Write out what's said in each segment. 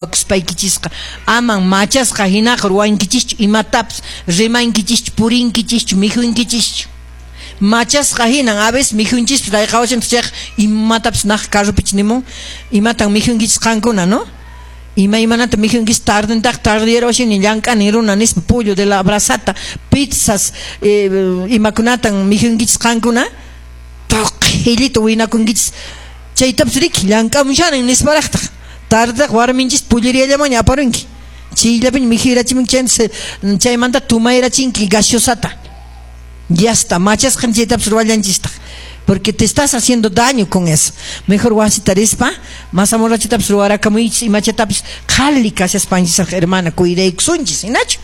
Kuspaykichisqa aman machasqa hinaqa ruwankichischu imatapas, rimankichischu, purinkichischu, mikhunkichischu. Machasqa hinan a veces mikhunchispas rayqawashanchis chayqa imatapas naq carropich nimun imatan mikhunkichis qankuna, no? Imaymanata mikhunkichis tardentaq tardeyarwashani llank'ani runa nispa pollo de la brasata, pizzas, imakunatan mikhunkichis qankuna? Tuqhillita winakunkichis chaytapas riki llank'amushanin nisparaqtaq. Tardaq warminchis pulleriallamanña aparunki. Chayllapiña mikhuyrachimunki chaymanta tumayrachinki gaseosata. Ya está, machasqan chaytapas ruwallanchistaq. Porque te estás haciendo daño con eso. Mejor wasita rispa, mazamorrachatapas ruwarakamuychis, imachatapas qhali kashaspanchisraq hermana cuidaykusunchis, hinachu?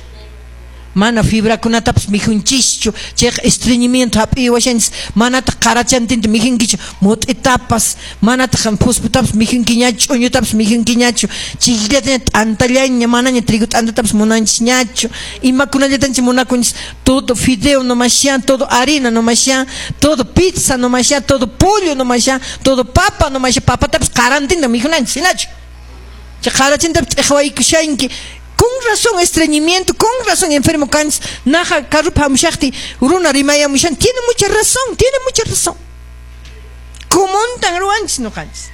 Mana fibrakunatapas mikhunchischu, chayqa estreñimiento hap'iwashanchis, manataq qarachantinta mikhunkichu, mut'itapas, manataq phusputapas mikhunkiñachu, ch'uñutapas mikhunkiñachu, chikllataña t'antallaña, manaña trigo t'antatapas munanchisñachu, imakunallatanchis munakunchis, todo fideo nomashan, todo harina nomashan, todo pizza nomashan, todo pollo nomashan, todo papa nomashan, papatapas qarantinta mikhunanchis, hinachu? Chay qarachintapas t'iqwaykushanki. Con razón estreñimiento, con razón enfermo kanchis, naja carrupa hamushaqti runa rimayamushan, tiene mucha razón, tiene mucha razón. Kumuntan ruwanchis ñuqanchis.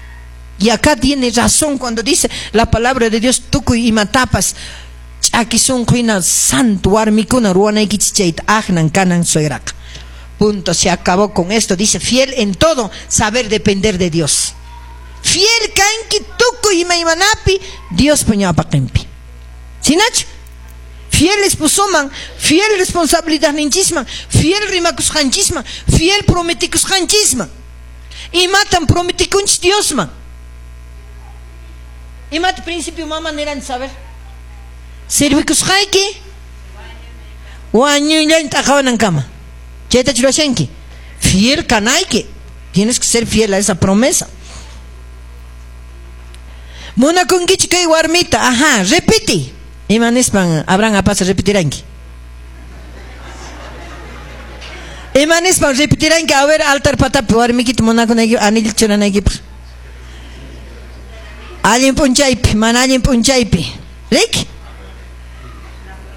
Y acá tiene razón cuando dice la palabra de Dios, tukuy imatapas ch'aki sunqu hina santo warmikuna ruwanaykichis chayta aqnan kanan suegraqa. Punto, se acabó con esto. Dice, fiel en todo, saber depender de Dios. Fiel kanki tukuy imaymanapi Diospa ñawpaqinpi. Sinachu? Fiel esposoman, fiel responsabilidadninchisman, fiel rimakusqanchisman, fiel prometikusqanchisman. Imatan prometikunchis Diosman? Imata principio mama niranchis, a ver. Servikusqayki wañuyllañ t'aqawanankama. Chayta churashanki. Fiel kanayki. Tienes que ser fiel a esa promesa. Munakunkichu kay warmita? Ajá, repite. Ima nispan Abraham apasa repetiranki? Ima nispan repetiranki? A ver, altar patapi warmikita munakunayki anillo churanaykipaq. Allin p'unchaypi, mana allin p'unchaypi. Riki?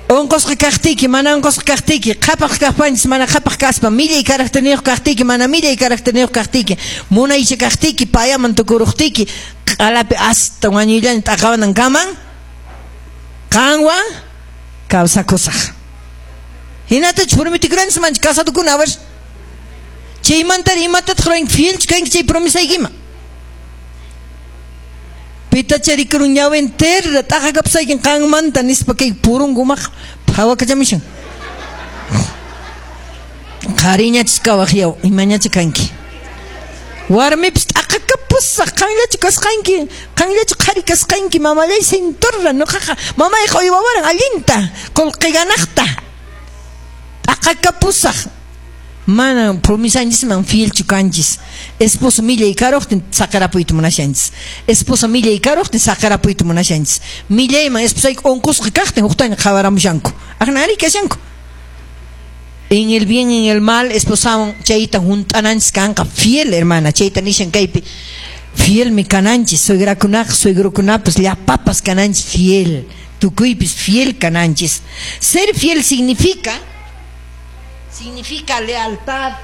Unqusqa kaqtiyki, mana unqusqa kaqtiyki, qhapaq kaqpanchis, mana qhapaq kaspa, millay caracterniyuq kaqtiyki, mana millay caracterniyuq kaqtiyki, munaycha kaqtiyki, payaman tukuruqtiyki, q'alapi hasta wañuyllaña t'aqawanankaman qanwan kawsakusaq. Hinatachu prometikuranchis manchi casadokuna, a ver. Chaymantari imatataq ruwanki? Fielchu kanki chay promesaykiman? Pitacha rikurun ñawin terra t'aqakapusaykin qanmanta nispa kay purungumaq phawakachamushan. Qhariñachis kawaq yaw, imañacha kanki. Warmipis t'aqakapusaq, qanllachu kasqanki, qanllachu qhari kasqanki, mamallay sinturra, nuqaqa mamayqa uywawaran allinta, qullqi ganaqta. T'aqakapusaq. Mana promesanchisman fielchu kanchis. Esposo millay karuqtin saqerapuyta munashanchis. Esposa millay karuqtin saqerapuyta munashanchis. Millayman esposayki unqusqa kaqtin huqtaña qhawaramushanku. Aqnari kashanku. En el bien, en el mal, esposawan chayta hunt'ananchis kanqa fiel, hermana. Chayta nishan kaypi. Fielmi kananchis, suegrakunaqa, suegrokunapas, llapapas kananchis fiel. Tukuypis fiel kananchis. Ser fiel significa lealtad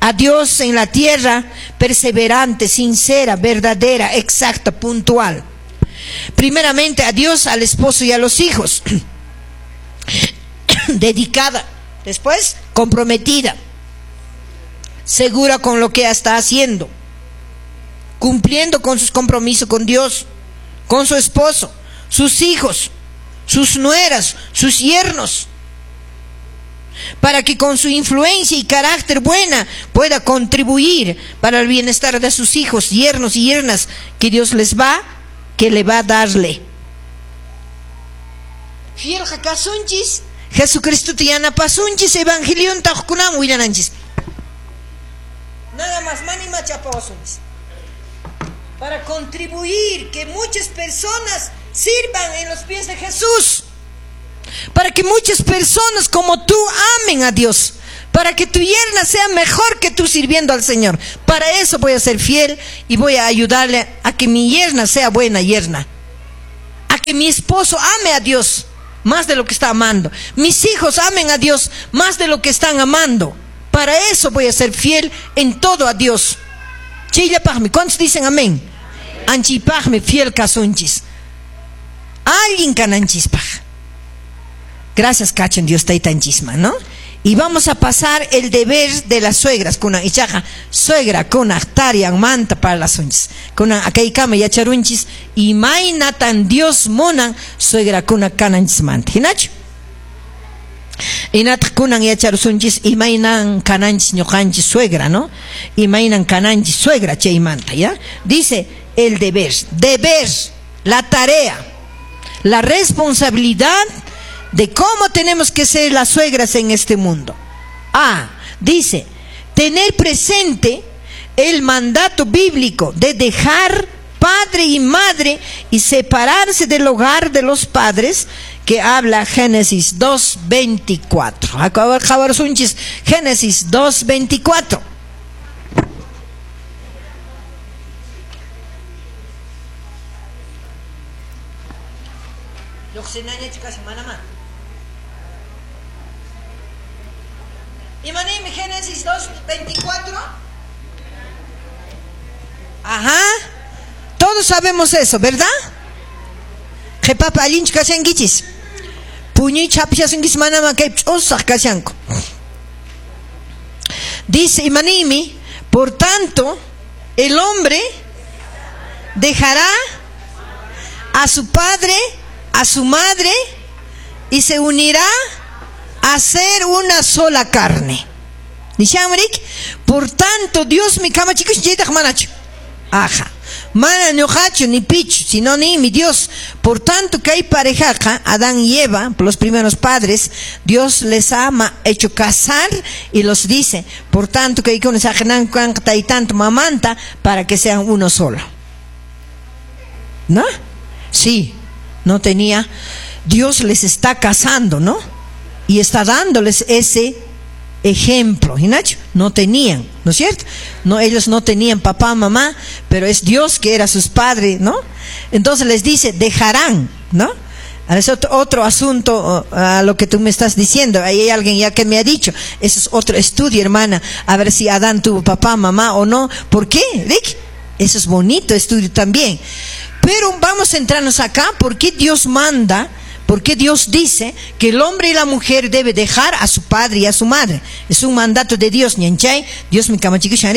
a Dios en la tierra, perseverante, sincera, verdadera, exacta, puntual. Primeramente a Dios, al esposo y a los hijos. Dedicada. Después, comprometida, segura con lo que está haciendo, cumpliendo con sus compromisos con Dios, con su esposo, sus hijos, sus nueras, sus yernos, para que con su influencia y carácter buena pueda contribuir para el bienestar de sus hijos, yernos y yernas que Dios les va, que le va a darle. Fiel kasunchis, Jesucristo te yanapasunchis, evangelionta hukkunaman willananchis. Nada más, mani machapawasunchis. Para contribuir que muchas personas sirvan en los pies de Jesús. Para que muchas personas como tú amen a Dios. Para que tu yerna sea mejor que tú sirviendo al Señor. Para eso voy a ser fiel y voy a ayudarle a que mi yerna sea buena yerna. A Que mi esposo ame a Dios más de lo que está amando. Mis hijos amen a Dios más de lo que están amando. Para eso voy a ser fiel en todo a Dios. Chayllapaqmi, ¿cuántos dicen amén? Anchipaqmi fiel kasunchis. Allin kananchispaq. Gracias, kachun Dios taytanchisman, ¿no? Y vamos a pasar el deber de las suegras. Kunan ichaqa suegra kunaq tarianmanta parlasunchis. Kunan akaykama yacharunchis imaynatan Dios munan suegrakuna kananchismanta. Hinachu? Hinataq kunan yacharusunchis imaynan kananchis ñuqanchis suegra, ¿no? Imaynan kananchis suegra chaymanta, ¿ya? Dice el deber, deber, la tarea, la responsabilidad de cómo tenemos que ser las suegras en este mundo. Ah, dice, tener presente el mandato bíblico de dejar padre y madre y separarse del hogar de los padres, que habla Génesis 2.24. Génesis 2.24. Imanimi Génesis 2.24. Ajá. Todos sabemos eso, ¿verdad? Qhipapa allinchu kashankichis. Puñuycha hap'ishasunkichis manama kay ch'usaq kashanku. Dice Imanimi, por tanto, el hombre dejará a su padre, a su madre, y se unirá a ser una sola carne. Nishamrik, por tanto, Dios mi kamachikus chaytaq manachu. Aja. Mana ñuqachu ni pichu, sino ni mi Dios. Por tanto, que hay parejaja, Adán y Eva, los primeros padres, Dios les ha hecho casar y los dice, por tanto, que hay que y tanto mamanta para que sean uno solo. ¿No? Sí, no tenía. Dios les está casando, ¿no? Y está dándoles ese ejemplo. ¿Hinacho? No tenían, ¿no es cierto? No, ellos no tenían papá, mamá, pero es Dios que era sus padres, ¿no? Entonces les dice, dejarán, ¿no? Ahora es otro asunto a lo que tú me estás diciendo. Ahí hay alguien ya que me ha dicho. Eso es otro estudio, hermana. A ver si Adán tuvo papá, mamá o no. ¿Por qué, Rick? Eso es bonito estudio también. Pero vamos a entrarnos acá. ¿Por qué Dios manda? ¿Por qué Dios dice que el hombre y la mujer debe dejar a su padre y a su madre? Es un mandato de Dios. Ñanchay, Dios mi kamachikushan,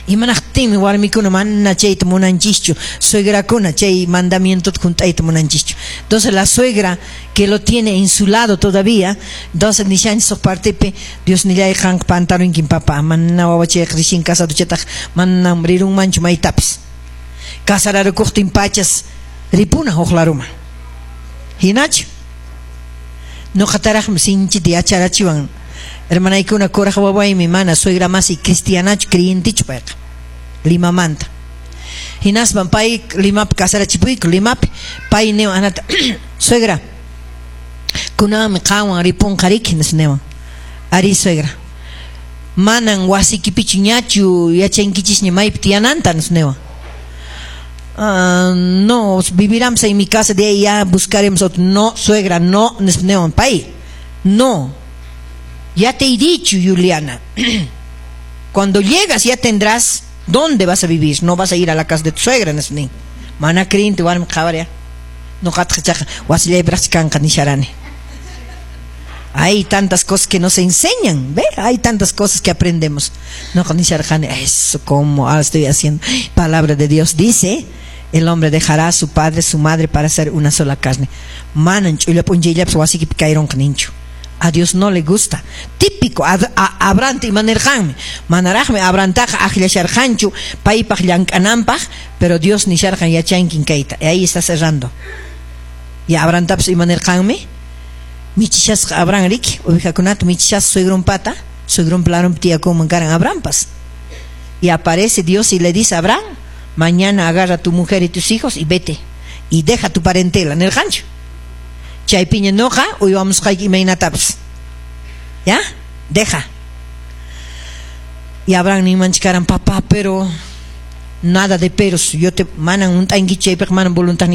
Imanaqtinmi warmikuna mana chayta munanchischu, suegrakuna chay mandamiento hunt'ayta munanchischu. Entonces la suegra que lo tiene en su lado todavía, entonces nishanchis huk partepi Dios nillay qanqa pantarunkin papá, mana wawachayqa recién casado chataq manam rirunmanchu maytapis. Casararukuqtin pachas ripuna huk laruman. Hinachu? Ñuqataraqmi sinchita yacharachiwan. Hermanaykuna kuraq wawaymi mana suegra masi cristianachu creyentichu payqa Limamanta. Hinaspan pay Limapi casarachipuyku Limapi pay niwan anata suegra kunanmi qanwan ripunqa riki nispa niwan. Ari suegra, manan wasikipichu ñachu yachankichisña maypi tiyananta nispa niwan. No, viviramos en mi casa, de ahí ya buscaremos otro. No, suegra, no, nispa niwan pay. No. Ya te he dicho, Juliana, cuando llegas ya tendrás dónde vas a vivir, no vas a ir a la casa de tu suegra, nispa. Mana creyente warmi qhawaria. Ñuqataq chaqa wasillaypiraqchi kanqa nisharani. Hay tantas cosas que nos enseñan, ¿ve? Hay tantas cosas que aprendemos. No, nisharqani, eso como ahora estoy haciendo. Palabra de Dios dice, el hombre dejará a su padre, su madre para hacer una sola carne. Manan ch'ulla p'unchayllapas wasikipi kayronqa ninchu. A Dios no le gusta. Típico, Abraham imanirqanmi. Manaraqmi Abrahamtaqa akllasharqanchu paypaq llank'ananpaq, pero Dios nisharqan yachankin kayta. Y ahí está cerrando. Y Abrahamtapas imanirqanmi. Michishasqa Abraham riki, ovejakunata michishasqa suegronpata, suegronpa larunpi tiyakunman karan Abrahampas. Y aparece Dios y le dice a Abraham, mañana agarra a tu mujer y tus hijos y vete. Y deja tu parentela nirqanchu. Chaypiña ñuqa uywamusqayki imaynatapas. ¿Ya? Deja. Y Abraham ninmanchi karan, papá, pero Nada de peros. Yo te manan hunt'ankichu chaypiqa, manan voluntad.